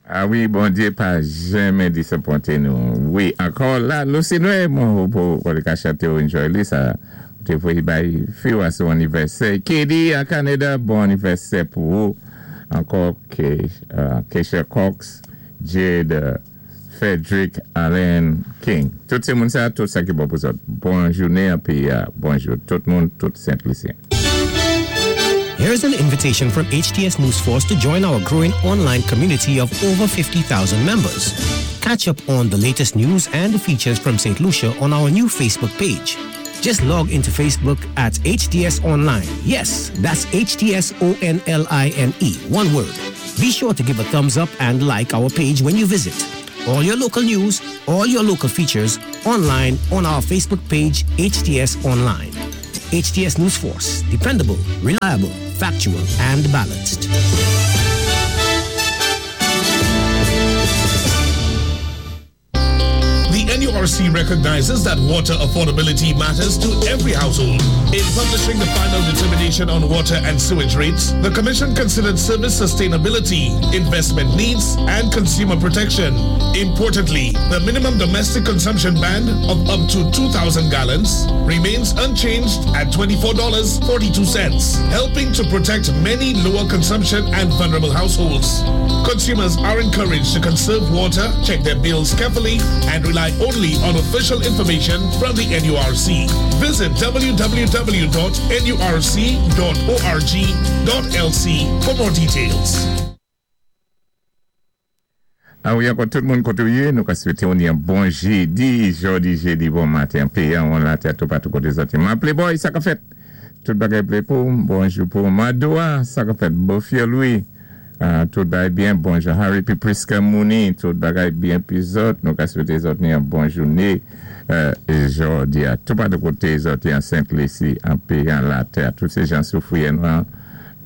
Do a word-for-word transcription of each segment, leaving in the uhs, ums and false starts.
Ah wi, Bondyé pa janmen disapwenté nou. Wi, ankò la, Lucinue, mwen pou pou ka chanté ou enjoy li, sa té voyé bay fi ou a son anivèsè. Katie an Kanada, bon anivèsè pou ou. Ankò ke, uh, Keisha Cox, Jade, uh, Frederick Allen King. Tout sé moun sa, tout sa ki bon pou zòt. Bon jounen épi uh, bonjou tout moun, tout Sent Lisyen. Here's an invitation from H T S News Force to join our growing online community of over fifty thousand members. Catch up on the latest news and features from Saint Lucia on our new Facebook page. Just log into Facebook at H T S Online. Yes, that's H T S O N L I N E, one word. Be sure to give a thumbs up and like our page when you visit. All your local news, all your local features online on our Facebook page, H T S Online. H T S News Force, dependable, reliable, factual, and balanced. The N U R C recognizes that water affordability matters to every household. In publishing the final determination on water and sewage rates, the Commission considered service sustainability, investment needs, and consumer protection. Importantly, the minimum domestic consumption band of up to two thousand gallons remains unchanged at twenty-four dollars and forty-two cents, helping to protect many lower consumption and vulnerable households. Consumers are encouraged to conserve water, check their bills carefully, and rely only on official information from the N U R C. Visit w w w dot N U R C dot org dot L C for more details. Ah wi, ankò tout moun koté ou yé, nou ka swété ou yon bon jédi, jòdi jédi, bon maten, péyi an, la tè tout patou koté zòt. Ma Playboy, sa ka fèt? Tout bagay plé pou, bonjou pou Madoua, sa ka fèt? Bofia Louis, uh, tout bagay byen, bonjou Harry pi Priska Mouni, tout bagay byen pi zòt, nou ka swété zòt ni yon bon jouné, euh, jòdi a, tout patou koté zòt an Sent Lisi, an péyi an la tè, tout sé jan Soufrière,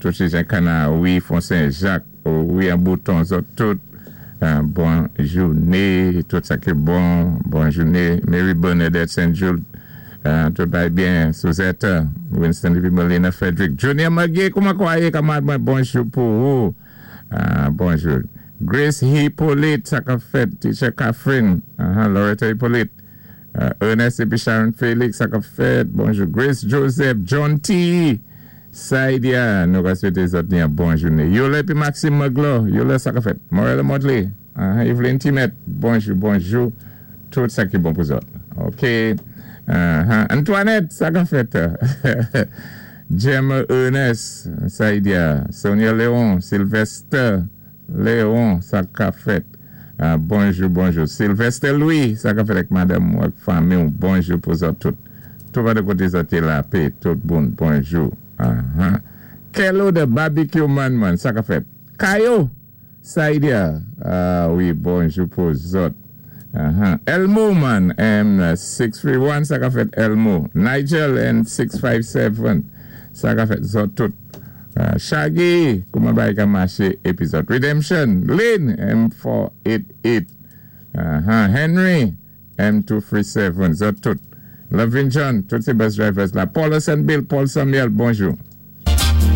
tout sé jan Kana, wi, Fon Sen-Jak, wi, an Bouton, zòt tout, Uh, bon jouné, tout sa ki bon, bon jouné. Mary Bernadette Saint Jude, uh, tout bagay byen, Suzette, Winston Livy Molina Frederick, Junior McGee, kouman kwa yé, kanmad mwen, bonjou pou ou, uh, bonjou. Grace Hippolyte, sa ka fèt, Teacher Catherine, uh -huh, Loretta Hippolyte, uh, Ernest épi Sharon Félix, sa ka fèt, bonjou. Grace Joseph, John T. Saidia, nou ka swété zòt ni yon bon jouné. Yole épi Maxime Maglo, Yole sa ka fèt. Morella Motley, uh, Evelyn Timet, bonjou, bonjou. Tout sa ki bon pou zòt. OK. Uh -huh. Antoinette, sa ka fèt. Gemma Ernest, Saidia, Sonia Léon, Sylvester Léon, sa ka fèt. Uh, bonjou, bonjou. Sylvester Louis, sa ka fèt ak madanm ou ak fanmi, bonjou pou zòt tout. Tout va de koté zòt la pé, tout bon, bonjou. Uh -huh. Kello the barbecue man man, sa ka fèt. Kayo, Saidia, ah wi, bonjou pou zòt. Uh -huh. Elmo man, M six three one, sa ka fèt Elmo. Nigel N six five seven, sa ka fèt zòt tout. Uh, Shaggy, kouman bagay ka maché épi zòt. Redemption, Lynn, M four eight eight. Uh -huh. Henry, M two three seven, zòt tout. Lovin John, tout sé bus drivers la. Paul and Bill, Paul Samuel, bonjou.